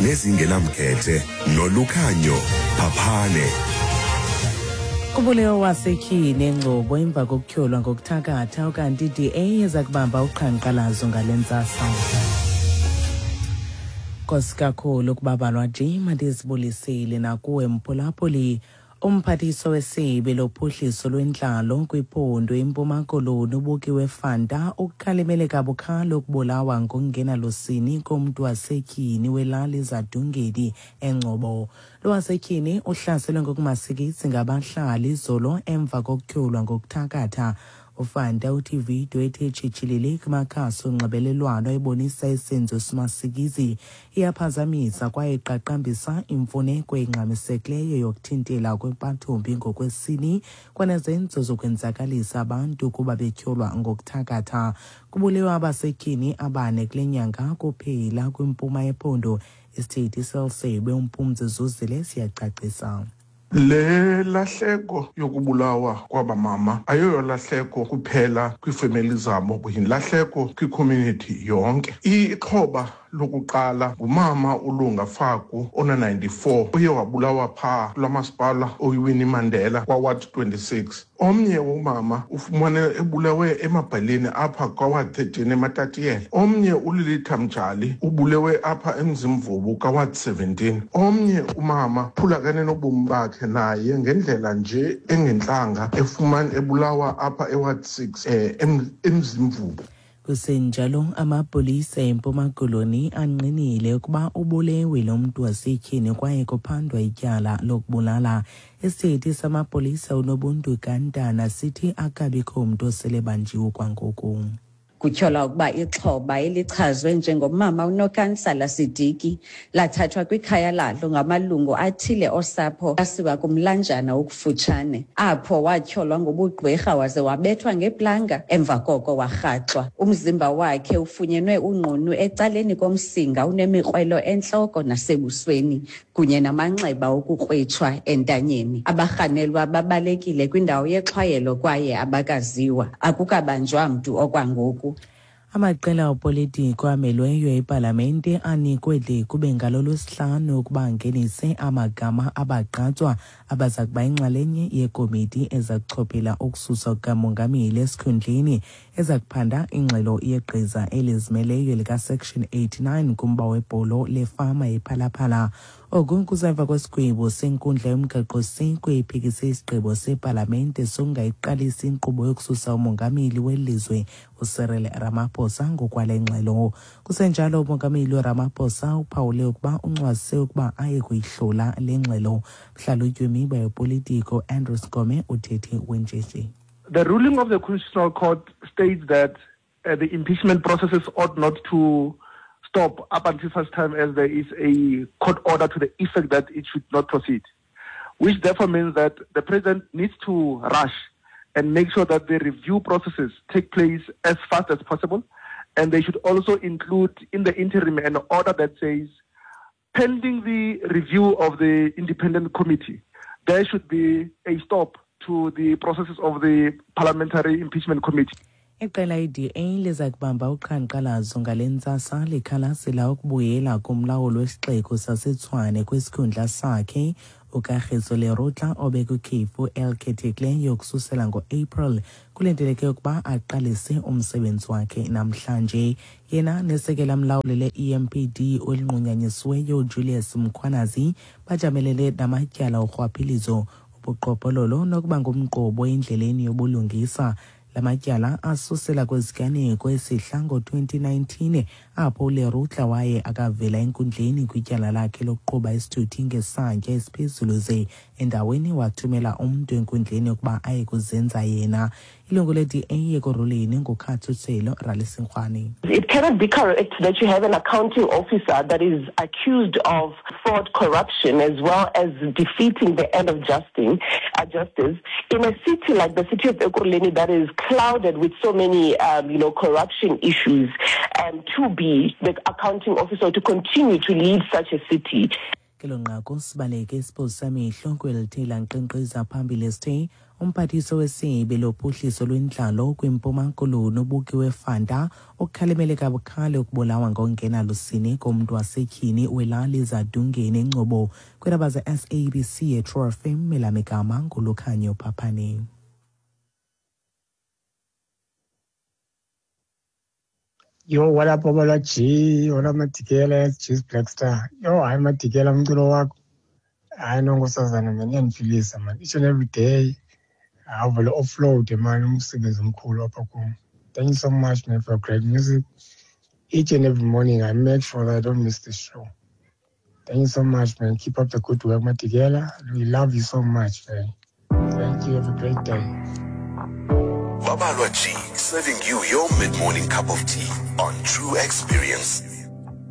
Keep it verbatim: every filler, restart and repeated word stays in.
Nezingenamkhethe noLukhanyo Phaphane. Kubulewe wasetyhini eNgcobo emva kokutyholwa ngokuthakatha, ukanti i-D A iza kubamba uqhankqalazo ngale ntsasa. Nkosi kakhulu ukubabalwa nje, mandizibulisile nakuwe mphulaphuli. Umphathiswa wesebe lophuhliso lwentlalo kwiphondo iMpuma Koloni, uBukiwe Fanta, ukukhalimele kabukhali ukubulawa ngokungenalusini komntu wasetyhini welali Zadungeni eNgcobo. Lo wasetyhini uhlaselwe ngokumasikizi ngabahlali izolo emva kokutyholwa ngokuthakatha. UFanta uthi ividiyo ethe tshitshilili kumakhasi onxibelelwano ebonisa isenzo simasikizi iyaphazamisa kwaye iqaqambisa imfuneko engxamisekileyo yokuthintela kwempathombi ngokwesini kwanezenzo zokwenzakalisa abantu kuba betyholwa ngokuthakatha. Kubulewe abasetyhini abane kule nyanga kuphela kwimpuma yephondo. Isithethi seli uMpumzi Zuzile siyacacisa. Le lahleko yokubulawa kwaba mama ayoyo lahleko kuphela kwiifemeli zabo, yilahleko kwicommunity yonke. Ixhoba lokuqala ngumama uLunga Faku ona-ninety-four uye wabulawa phaa kulaa masipala oyiWinnie Mandela kwaWard twenty-six. Omnye umama ufumane ebulewe eMabheleni apha kwaWard thirteen eMatatiyele. Omnye uLilitha Mjali ubulewe apha eMzimvubu kaWard seventeen. Omnye umama phulakane nobomi bakhe naye ngendlela nje engentlanga efumane ebulawa apha eWard six um eMzimvubu. Kusenjalo, amapolisa eMpuma Koloni angqinile ukuba ubulewe lo mntu wasetyhini kwaye kuphandwa ityala lokubulala. Isithethi samapolisa uNobuntu Gantana sithi akabikho mntu osele banjiwe kwangoku. Kutyholwa ukuba ixhoba elichazwe njengomama uNokansala Sidiki lathathwa kwikhaya lalo ngamalungu athile osapho asiwa kumlanjana okufutshane, apho watyholwa ngobugqwirha waze wabethwa ngeplanga, emva koko warhaxwa. Umzimba wakhe ufunyenwe unqunu ecaleni komsinga, unemikrwelo entloko nasebusweni kunye namanxeba okukrwitshwa entanyeni. Abarhanelwa babalekile kwindawo yexhwayelo kwaye abakaziwa. Akukabanjwa mntu okwangoku. Amaqela opolitiko amelweyo epalamente anikwe de kube ngalo lwesihlanu ukuba angenise amagama abagqatswa abaza kuba yinxalenye yekomiti eza kuchophela ukususwa kukamongameli esikhundleni, eza kuphanda ingxelo yegqiza elizimeleyo likaSection eighty-nine kumba webholo lefama yePhalaphala. Oku kusemva kwesigwebo senkundla yomgaqo-siseko ephikise isigqibo sepalamente sokungayiqalisi inkqubo yokususa umongameli welizwe uCyril Ramaphosa ngokwale ngxelo. Kusenjalo, umongameli uRamaphosa uphawule ukuba uncwase ukuba aye kuyihlola le ngxelo. Mhlalutyi wemiba yopolitiko Andrew Skome uthethe wenjenje. The ruling of the Constitutional Court states that uh, the impeachment processes ought not to stop up until such time as there is a court order to the effect that it should not proceed, which therefore means that the president needs to rush and make sure that the review processes take place as fast as possible. And they should also include in the interim an order that says, pending the review of the independent committee, there should be a stop to the processes of the parliamentary impeachment committee. Iqela i-D A liza kubamba uqhankqalazo ngale ntsasa likhalazela ukubuyela kumlawuli wesixeko saseTshwane kwisikhundla sakhe uKagiso Lerutla, obekwikhefu elikhethekileyo ukususela ngo-April. Kulindeleke ukuba aqalise umsebenzi wakhe namhlanje. Yena nesekela mlawuli le-E M P D olinqunyanyisiweyo Julius Mkhwanazi bajamelene namatyala orhwaphilizo, ubuqhophololo nokuba ngumqobo endleleni yobulungisa. La matyala asusela kwiziganeko esihla ngo-twenty nineteen, apho uLerutla waye akavela enkundleni kwityala lakhe lokuqhuba isithuthi ngesantya esiphezulu, ze endaweni wathumela umntu enkundleni ukuba aye kuzenza yena. Ilungu le-D A Ekurhuleni nguKhathutshelo Ralisinkhwane. It cannot be correct that you have an accounting officer that is accused of fraud, corruption, as well as defeating the end of justice, uh, justice in a city like the city of Ekurhuleni that is clouded with so many, um, you know, corruption issues, um, to be the accounting officer, to continue to lead such a city. Kelo nqaku sibaleke isiphoso samehlo kwelithe lankqenkqeza phambili sithe Umphathiswa wesebe lophuhliso lwentlalo kwiMpuma Koloni uBukiwe Fanta ukhalimele kabukhali ukubulawa ngokungenalusini komntu wasetyhini welali Zadungeni eNgcobo. Kwiindaba ze-S A B C eTrue F M, elamigama nguLukhanyo Phaphane. Yo, what up, Babalwa G? What up, Madikela? G's Black Star. Yo, hayi Madikela, umculo wakho. Hayi no, nkosazana man, iyandiphilisa man. Each and every day. Awuvele offload man, umsebenzi omkhulu apha kum. Thank you so much, man, for great music. Each and every morning I make sure that I don't miss the show. Thank you so much, man. Keep up the good work, Madikela. We love you so much, man. Thank you. Have a great day. Babalwa G, serving you your mid-morning cup of tea on True Experience.